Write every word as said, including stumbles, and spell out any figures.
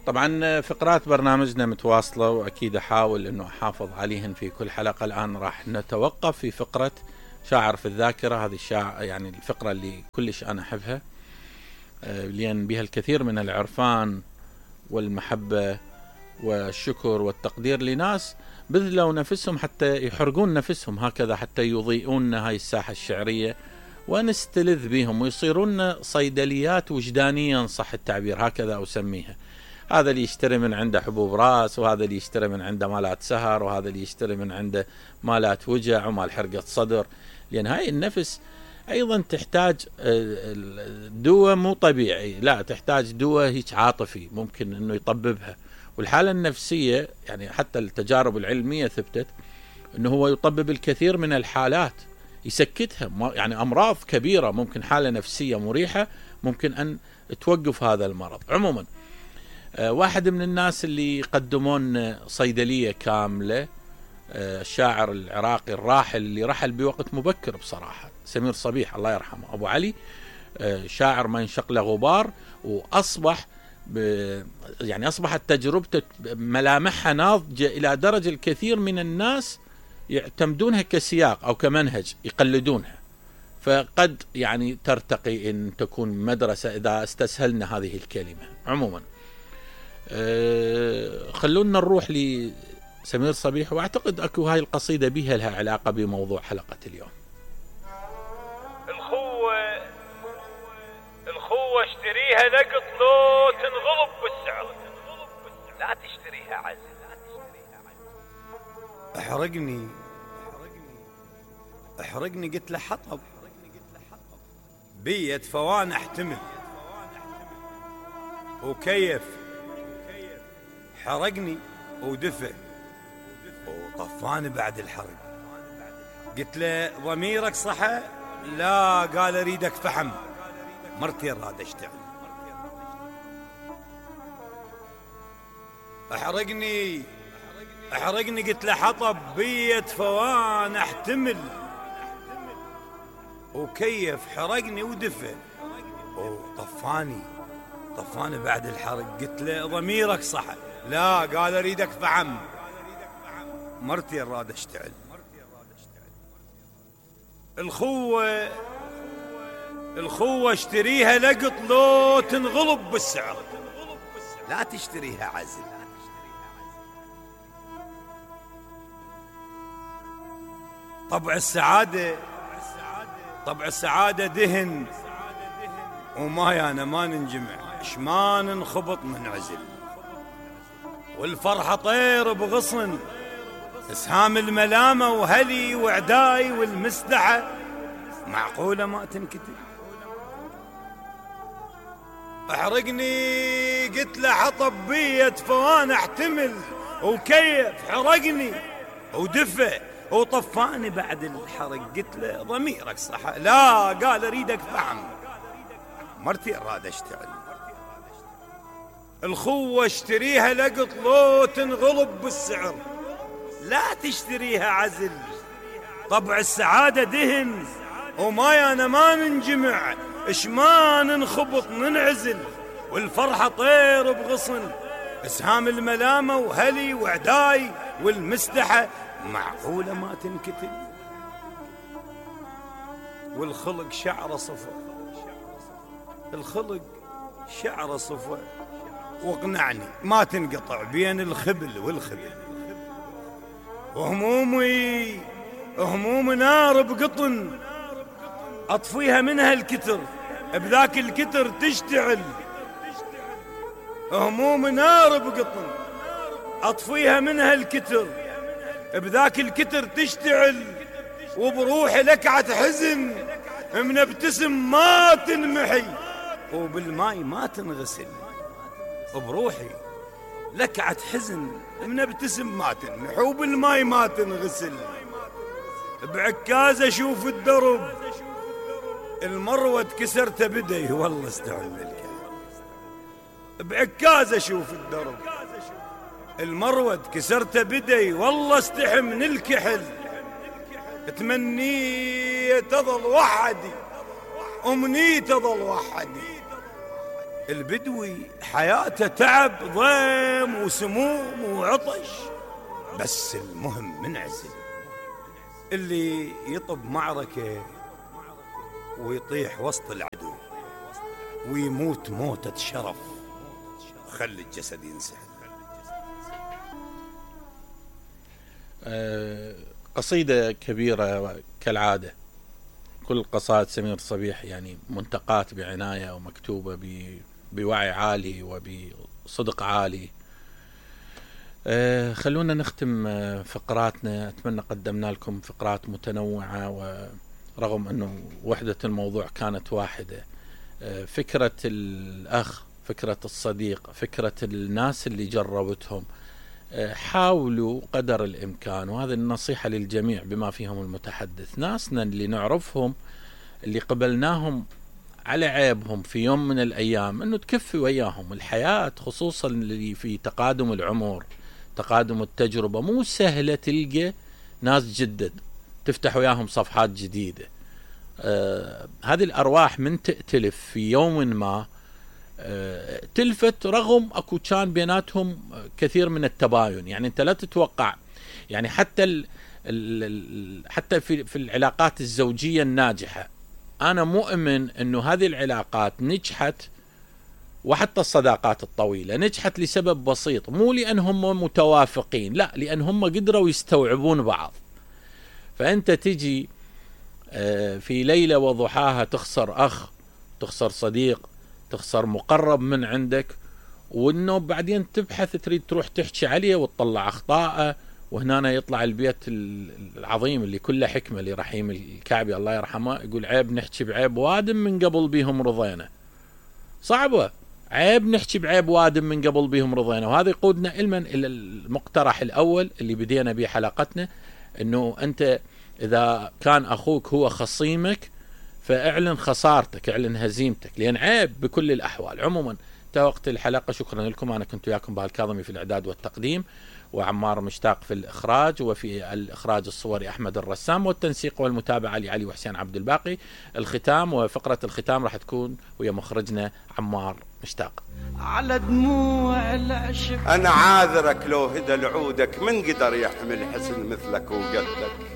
طبعا فقرات برنامجنا متواصلة وأكيد أحاول أنه أحافظ عليهن في كل حلقة. الآن راح نتوقف في فقرة شاعر في الذاكرة. هذه الشاعر يعني الفقرة اللي كلش أنا أحبها، لأن بها الكثير من العرفان والمحبة والشكر والتقدير لناس بذلوا نفسهم حتى يحرقون نفسهم هكذا، حتى يضيئون هاي الساحة الشعرية ونستلذ بهم ويصيرون صيدليات وجدانيا، صح التعبير، هكذا أسميها. هذا اللي يشتري من عنده حبوب راس، وهذا اللي يشتري من عنده مالات سهر، وهذا اللي يشتري من عنده مالات وجع ومال حرقة صدر، لأن هاي النفس أيضا تحتاج دواء مو طبيعي، لا تحتاج دواء هيك عاطفي ممكن أنه يطببها. والحالة النفسية يعني حتى التجارب العلمية ثبتت أنه هو يطبب الكثير من الحالات، يسكتها. يعني أمراض كبيرة ممكن حالة نفسية مريحة ممكن أن توقف هذا المرض. عموما واحد من الناس اللي يقدمون صيدلية كاملة، الشاعر العراقي الراحل اللي رحل بوقت مبكر بصراحة، سمير صبيح الله يرحمه، أبو علي، شاعر ما ينشق له غبار، وأصبح يعني أصبحت تجربته ملامحها ناضجة إلى درجة الكثير من الناس يعتمدونها كسياق أو كمنهج يقلدونها، فقد يعني ترتقي إن تكون مدرسة إذا استسهلنا هذه الكلمة. عموما أه خلونا نروح لسمير صبيح، وأعتقد أكو هاي القصيدة بها لها علاقة بموضوع حلقة اليوم. الخوة الخوة اشتريها لقط لو تنغلب بالسعر، لا تشتريها عزل. احرقني احرقني قلت له حطب بيت فوان احتمل وكيف حرقني ودفى وطفاني بعد الحرق. قلت له ضميرك صحى؟ لا، قال اريدك فحم، مرتي راد اشتعل. احرقني احرقني قلت له حطب بيت فوان احتمل وكيف حرقني ودفى وطفاني طفاني بعد الحرق. قلت له ضميرك صحى؟ لا، قال اريدك فحم، مرتي راد اشتعل. الخوة الخوة اشتريها لقط لو تنغلب بالسعر، لا تشتريها عزل. طبع السعادة طبع السعادة دهن وما أنا ما ننجمع، شما ننخبط من عزل. والفرحة طير بغصن، اسهام الملامة وهلي وعداي والمسدحة معقولة ما تنكتب. احرقني قلت له حطب بيت فوان احتمل وكيف حرقني ودفى وطفاني بعد الحرق. قلت له ضميرك صح؟ لا، قال اريدك فحم، مرتي اراد اشتعل. الخوة اشتريها لقط لو تنغلب بالسعر، لا تشتريها عزل. طبع السعادة دهن وما أنا ما ننجمع، اش ما ننخبط ننعزل. والفرحة طير بغصن، اسهام الملامة وهلي وعداي والمسدحة معقولة ما تنكتب. والخلق شعر صفر، الخلق شعر صفر، واقنعني ما تنقطع بين الخبل والخبل. وهمومي هموم نار بقطن، اطفيها منها الكتر بذاك الكتر تشتعل. هموم نار بقطن، اطفيها منها الكتر بذاك الكتر تشتعل. وبروحي لكعة حزن منبتسم ما تنمحي، وبالماي ما تنغسل. بروحي لكعة حزن منبتسم ما تنمحي، وبالماي ما تنغسل. بعكاز اشوف الدرب المروة كسرت بدي، والله استعمل الكلام. بعكاز اشوف الدرب المروة كسرت بدي، والله استحي من الكحل. تمنيت اظل وحدي، امنيت اظل وحدي، البدوي حياته تعب ضيم وسموم وعطش، بس المهم منعزل. اللي يطب معركة ويطيح وسط العدو ويموت موتة شرف وخلي الجسد ينسحب. أه قصيدة كبيرة كالعادة، كل قصائد سمير صبيح يعني منتقات بعناية ومكتوبة بوعي عالي وبصدق عالي. أه خلونا نختم فقراتنا. أتمنى قدمنا لكم فقرات متنوعة، ورغم أنه وحدة الموضوع كانت واحدة. أه فكرة الأخ، فكرة الصديق، فكرة الناس اللي جربتهم، أه حاولوا قدر الإمكان، وهذه النصيحة للجميع بما فيهم المتحدث، ناسنا اللي نعرفهم اللي قبلناهم على عيبهم في يوم من الأيام، أنه تكفي وياهم. الحياة خصوصا اللي في تقادم العمر، تقادم التجربة، مو سهلة تلقى ناس جدد تفتح وياهم صفحات جديدة. آه هذه الأرواح من تأتلف في يوم ما آه تلفت، رغم أكو كان بيناتهم كثير من التباين. يعني أنت لا تتوقع، يعني حتى ال ال حتى في في العلاقات الزوجية الناجحة، أنا مؤمن أنه هذه العلاقات نجحت، وحتى الصداقات الطويلة نجحت لسبب بسيط، مو لأن هم متوافقين، لا، لأن هم قدروا يستوعبون بعض. فأنت تجي في ليلة وضحاها تخسر أخ، تخسر صديق، تخسر مقرب من عندك، وأنه بعدين تبحث تريد تروح تحكي عليه وتطلع أخطاءه، وهنا يطلع البيت العظيم اللي كله حكمة لرحيم الكعبي الله يرحمه، يقول عيب نحكي بعيب وادم من قبل بيهم رضينا. صعبة، عيب نحكي بعيب وادم من قبل بيهم رضينا. وهذا يقودنا إلمن إلى المقترح الأول اللي بدينا به حلقتنا، أنه أنت إذا كان أخوك هو خصيمك فاعلن خسارتك، اعلن هزيمتك، لأن عيب بكل الأحوال. عموما انتهى وقت الحلقة، شكرا لكم. أنا كنت وياكم بهالكاظمي في الإعداد والتقديم، وعمار مشتاق في الإخراج، وفي الإخراج الصوري أحمد الرسام، والتنسيق والمتابعة لعلي وحسين عبد الباقي. الختام وفقرة الختام راح تكون ويا مخرجنا عمار مشتاق. على دموع العشق أنا عاذرك لو هدى لعودك، من قدر يحمل حسن مثلك وقدك.